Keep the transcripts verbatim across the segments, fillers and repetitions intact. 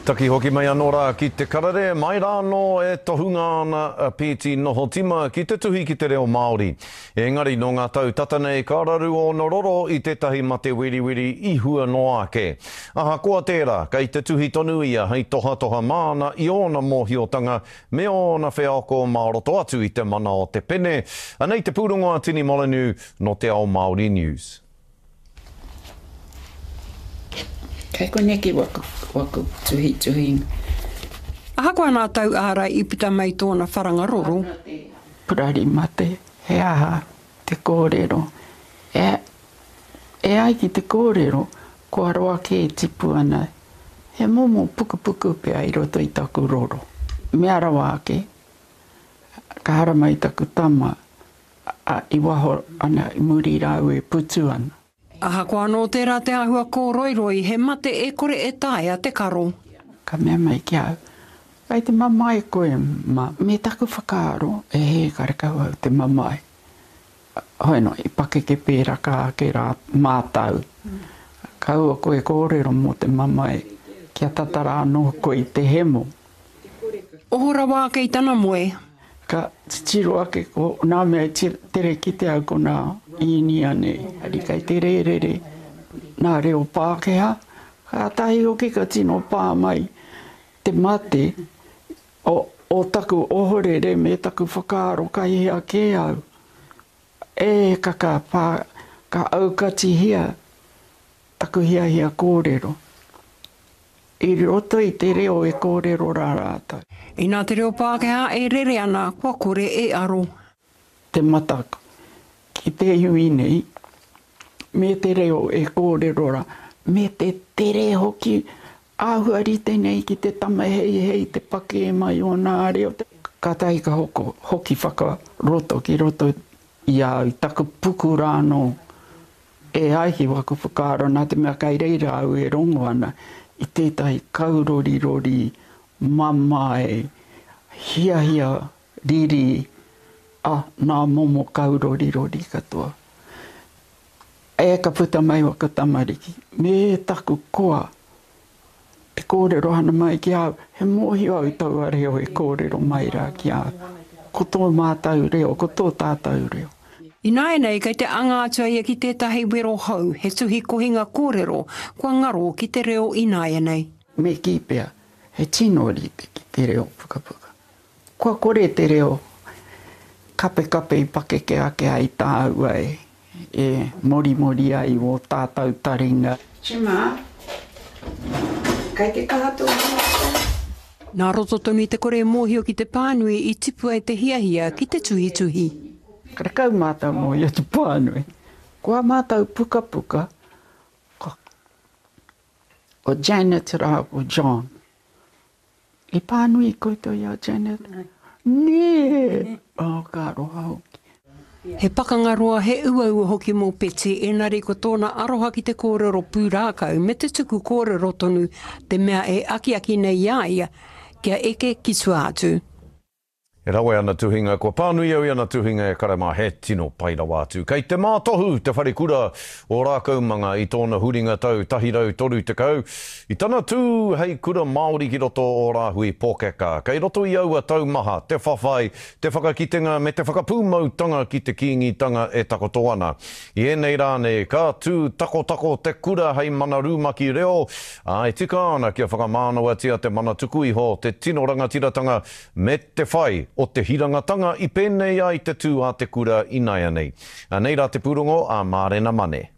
Taki hoki mai anō rā ki te karere, mai rā anō e tohunga ana a Pēti Nohotima ki te tuhi ki te reo Māori. Engari nō ngā tau tata nei ka raru ōna roro i tētahi mate weriweri i hua noa ake. Ahakoa tērā, kei te tuhi tonu ia hei tohatoha māna i ōna mōhiotanga me ōna wheako mā roto atu i te mana o te pene. Anei te pūrongo a Tini Molyneux nō Te Ao Māori News. Kei koneki waku, waku tuhituhinga. Ahakoa nā tau ārai i puta mai tōna wharanga roro. Purari mate, he aha te kōrero? E, e ai ki te kōrero, kua roa kē tipu ana, he momo pukupuku pea i roto i taku roro. Mea rawa ake, ka haramai taku tama, a, i waho ana, i muri rāua e putu ana. Ahakoa anō tērā te āhua kōroiroi, he mate e kore e taea te karo. Ka mea mai ki a au, Kei te mamae koe, ma. Me taku whakaaro, e hē, karekau au te mamae. Hoi no, i pakeke pēraka ake rā mātau. Kaua koe kōrero mō te mamae, kia tata rā anō koe i te hemo. Oho rawa ake i tana moe. Ka titiro ake ko nā mea i tere kite au ko nā Īnia nei, ari kei te rērere nā reo Pākehā, kātahi hoki ka tino pā mai te mate o, o taku ohorere me taku whakaaro kai hea kē au. E ka ka pā, ka aukatihia taku hiahia kōrero. I roto i te reo e kōrero rā rātou. Inā te reo Pākehā e rere ana, kua kore e aro. Te mataku ki te iwi nei, me te reo e kōrero rā, me te tere hoki, āhua rite nei ki te tama heihei te pakē mai o nā reo. Kātahi ka hoko, hoki whakaroto ki roto i a au, i taku puku rā anō. E ai ki waku whakaaro, nā te mea kai reira au e rongo ana i tētahi kaurorirori mamae, hiahia, riri, a, nā momo kaurorirori katoa. E ka puta mai waku tamariki, me taku koa Te kōrero ana mai ki a au, he mōhio au i taua reo e kōrero mai rā ki a au. Ko tō mātau reo, ko tō tātau reo. Ināianei kei te anga atu a ia ki tētahi wero hou, he tuhi kohinga kōrero kua ngaro ki te reo ināianei. Me kī pea, he tino rite ki te reo pukapuka. Kua kore te reo kapekape i pakeke ake ai tāua e. E morimori ai wō tātau taringa. Chima, kei te kaha tō hiahia? Nā roto tonu i te kore mōhio ki te pānui i tipu ai te hiahia ki te tuhituhi. Karekau mātau mōhio te pānui. Ko ā mātau pukapuka, ko, ko Janet rāua ko John. I pānui koutou i a Janet? Nē! Oh, ka aroha hoki. He pakanga roa, he uaua hoki mō Betsy, engari ko tōna aroha ki te kōrero pūrākau me te tuku kōrero tonu te mea e akiaki nei i a ia kia eke ki tua atu. E rawe ana tuhinga, kua pānui au i ana tuhinga e kare mā, he tino pai rawa atu. Kei te mātohu te wharekura o Rākaumanga i tōna huringa tau tahi rau toru tekau, i tana tū hei kura Māori ki roto o Rāhui Pōkeka. Kei roto i aua tau maha te whawhai, te whakakitenga me te whakapūmautanga ki te Kīngitanga e takoto ana. I ēnei rā nei, ka tū takotako te kura hei mana rumaki reo, ā, e tika ana kia whakamānawatia te mana tuku iho, te tino rangatiratanga me te whai o te hirangatanga i pēnei ai te tū a te kura inaianei. Anei rā te pūrongo a Mārena Mane.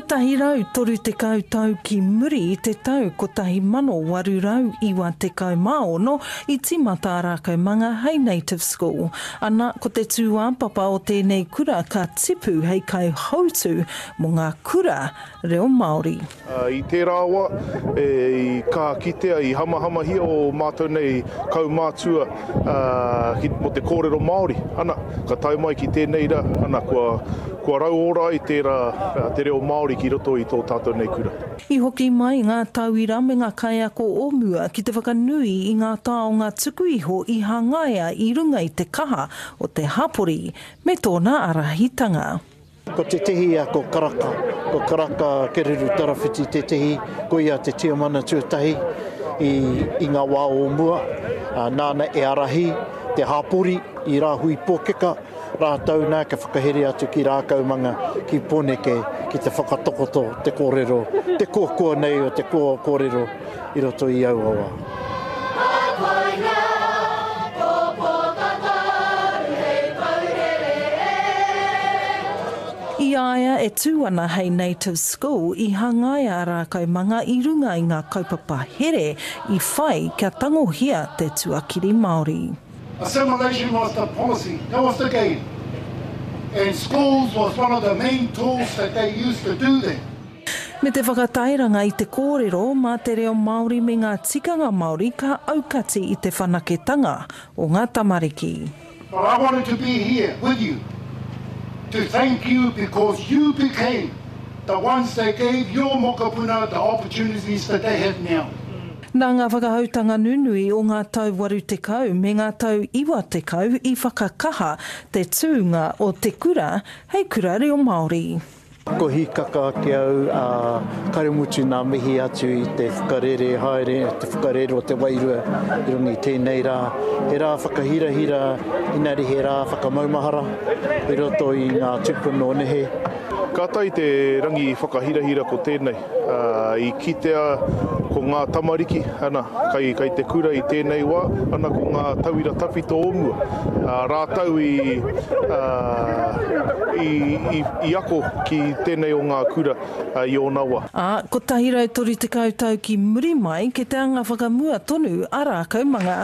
Kotahi rau toru tekau tau ki muri i te tau kotahi mano waru rau iwa tekau mā ono i tīmata a Rākaumanga hei Native School. Ana, ko te tūāpapa o tēnei kura ka tipu hei kaihautū mō ngā kura reo Māori. I tērā wā, i kaha kitea, i hamahamahia ō mātou nei kaumātua mō te kōrero Māori. Ana, ka tae mai ki tēnei rā, ana, kua, kua rauora ai tērā, te reo Māori ki roto i tō tātou nei kura. I hoki mai ngā tauira me ngā kaiako o mua ki te whakanui i ngā taonga tuku iho i hangaia i runga i te kaha o te hapori me tōna ārahitanga. Ko tētehi a ko Karaka, ko Karaka Kereru Tarawhiti tētehi, ko ia te tiamana tuatahi i, i ngā wā o mua, nāna e ārahi te hāpori i Rāhui Pōkeka, rātou nā ka whakahere atu ki Rākaumanga, ki Pōneke, ki te whakatakoto te kōrero, te koakoa nei o te kōrero i roto i aua wā. I a ia e tū ana hei Native School, i hangaia a Rākaumanga i runga i ngā kaupapa here i whai kia tangohia te tuakiri Māori. Assimilation was the policy, that was the game. And schools was one of the main tools that they used to do that. Me te whakatairanga i te kōrero mā te reo Māori me ngā tikanga Māori ka aukati i te whanaketanga o ngā tamariki. But I wanted to be here with you to thank you because you became the ones that gave your mokopuna the opportunities that they have now. Nā ngā whakahoutanga nunui o ngā tau waru tekau me ngā tau iwa tekau i whakakaha te tūnga o te kura hei kura reo Māori. Ko hīkaka ake au, ā, kare mutu nā mihi atu i te whakarere haere, te whakarere o te wairua i runga i tēnei rā. He rā whakahirahira, inari he rā whakamaumahara i roto i ngā tūpuna o nehe. Kātahi te rangi whakahirahira ko tēnei. I kitea ko ngā tamariki, ana, kai, kai te kura i tēnei wā, ana ko ngā tauira tawhito o mua. Rātou i, i, i, i ako ki tēnei o ngā kura i ōna wā. Ā, kotahi rau toru tekau tau ki muri mai, ke te anga whakamua tonu a Rākaumanga.